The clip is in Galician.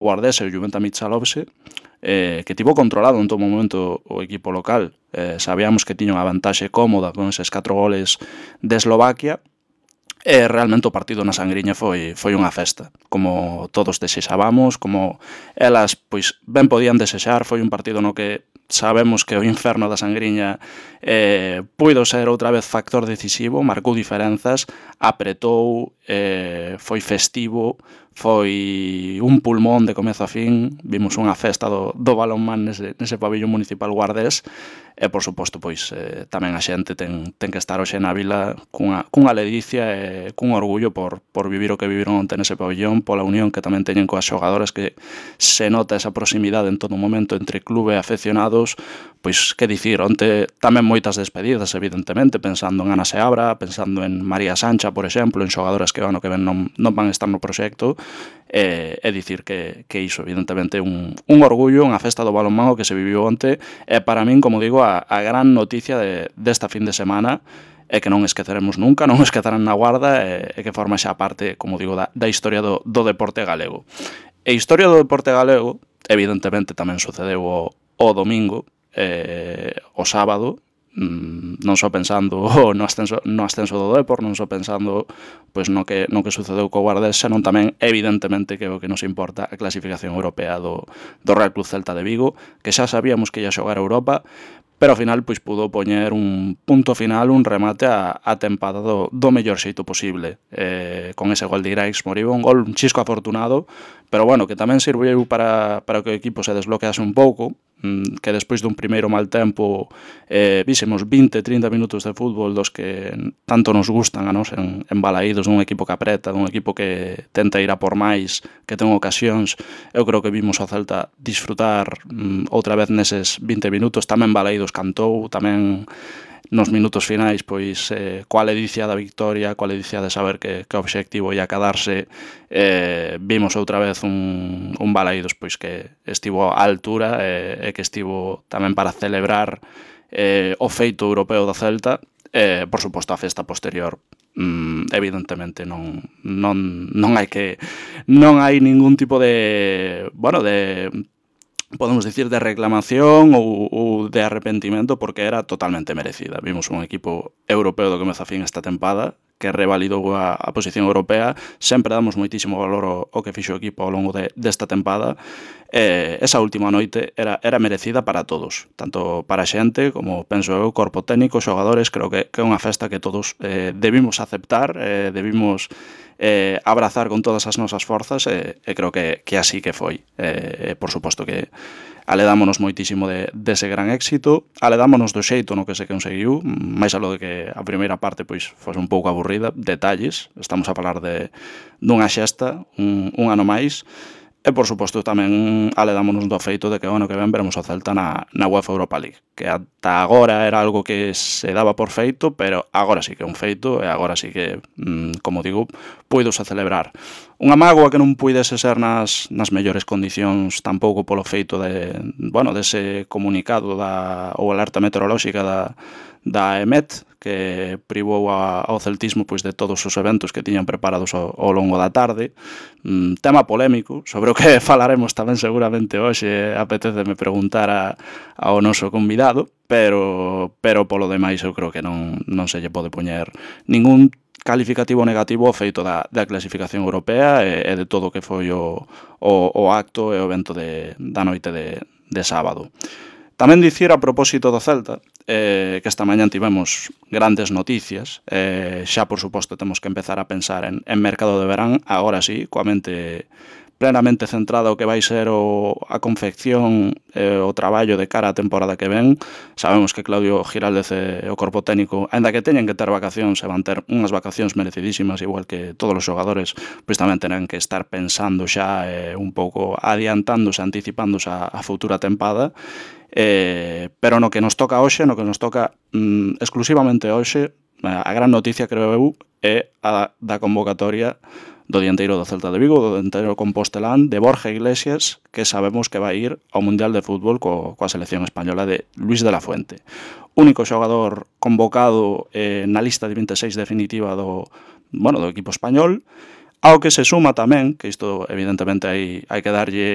Guardés e o Juventa Michalovce, que tivo controlado en todo momento o equipo local. Sabíamos que tiña unha vantaxe cómoda con eses 4 goles de Eslovaquia, e realmente o partido na Sangriña foi unha festa, como todos desexábamos, como elas pois ben podían desexar. Foi un partido no que sabemos que o inferno da Sangriña puido ser outra vez factor decisivo, marcou diferenzas, apretou, foi festivo, foi un pulmón de comezo a fin. Vimos unha festa do balonmán nese pabillón municipal guardés, e por suposto pois tamén a xente ten que estar hoxe na vila cunha ledicia e cun orgullo por vivir o que viviron onte nese pabillón, pola unión que tamén teñen coas xogadoras, que se nota esa proximidade en todo momento entre clube e afeccionados. Pois que dicir, onte tamén moitas despedidas, evidentemente, pensando en Ana Seabra, pensando en María Sancha, por exemplo, en xogadoras que o ano que ven non van estar no proxecto, e dicir que iso, evidentemente, un orgullo, unha festa do balonmán que se viviu onte, e para min, como digo, a gran noticia desta fin de semana, e que non esqueceremos nunca, non esquecerán na Guarda, e que forma xa parte, como digo, da historia do deporte galego. E historia do deporte galego, evidentemente, tamén sucedeu o domingo, o sábado, non só pensando no ascenso do Depor, non só pensando pois no que sucedeu co Guardés, senón tamén, evidentemente, que o que nos importa a clasificación europea do Real Club Celta de Vigo, que xa sabíamos que ia xogar a Europa, pero ao final pois pudo poñer un punto final, un remate a tempada do mellor xeito posible, con ese gol de Iraix Moriba, un gol un chisco afortunado, pero bueno, que tamén sirveu para que o equipo se desbloquease un pouco, que despois dun primeiro mal tempo vísemos 20-30 minutos de fútbol dos que tanto nos gustan a nos en Balaídos, dun equipo que apreta, dun equipo que tenta ir a por máis, que ten ocasións. Eu creo que vimos ao Celta disfrutar outra vez neses 20 minutos. Tamén Balaídos cantou, tamén nos minutos finais, pois coa ledicia da victoria, coa ledicia de saber que o obxectivo ia quedarse, vimos outra vez un Balaídos pois que estivo á altura, e que estivo tamén para celebrar o feito europeo do Celta. Por suposto, a festa posterior, evidentemente non hai ningún tipo de podemos dicir, de reclamación ou de arrepentimento, porque era totalmente merecida. Vimos un equipo europeo do comezo a fin esta tempada, que revalidou a posición europea. Sempre damos moitísimo valor ao que fixo o equipo ao longo desta tempada. Esa última noite era merecida para todos, tanto para a xente como, penso eu, corpo técnico, xogadores. Creo que é unha festa que todos debimos aceptar, debimos abrazar con todas as nosas forzas, e creo que así que foi. Por suposto que aledámonos moitísimo dese gran éxito, aledámonos do xeito no que se conseguiu, máis aló de que a primeira parte pois fose un pouco aburrida, detalles. Estamos a falar dunha xesta, un ano máis. E, por suposto, tamén aledámonos do feito de que o ano que ven veremos o Celta na UEFA Europa League, que ata agora era algo que se daba por feito, pero agora sí que é un feito, e agora sí que, como digo, puidose celebrar. Unha mágoa que non puidese ser nas mellores condicións, tampouco polo feito dese comunicado ou alerta meteorolóxica da EMET, que privou ao celtismo pois de todos os eventos que tiñan preparados ao longo da tarde. Tema polémico, sobre o que falaremos tamén seguramente hoxe. Apeteceme preguntar ao noso convidado, pero polo demais eu creo que non se lle pode poñer ningún calificativo negativo ao feito da clasificación europea e de todo o que foi o acto e o evento da noite de sábado. Tamén dicir, a propósito do Celta, que esta mañá tivemos grandes noticias. Xa, por suposto, temos que empezar a pensar en mercado de verán, agora sí, coa mente plenamente centrada o que vai ser a confección e o traballo de cara á temporada que ven. Sabemos que Claudio Giraldez e o corpo técnico, aínda que teñen que ter vacacións, e van ter unhas vacacións merecidísimas, igual que todos os xogadores, pois tamén terán que estar pensando xa un pouco adiantándose, anticipándose a futura tempada. Pero no que nos toca hoxe, no que nos toca exclusivamente hoxe, a gran noticia, creo eu, é a da convocatoria do dianteiro do Celta de Vigo, do dianteiro compostelán, de Borja Iglesias, que sabemos que vai ir ao Mundial de Fútbol coa selección española de Luis de la Fuente. Único xogador convocado na lista de 26 definitiva do equipo español. Ao que se suma tamén, que isto evidentemente hai que darlle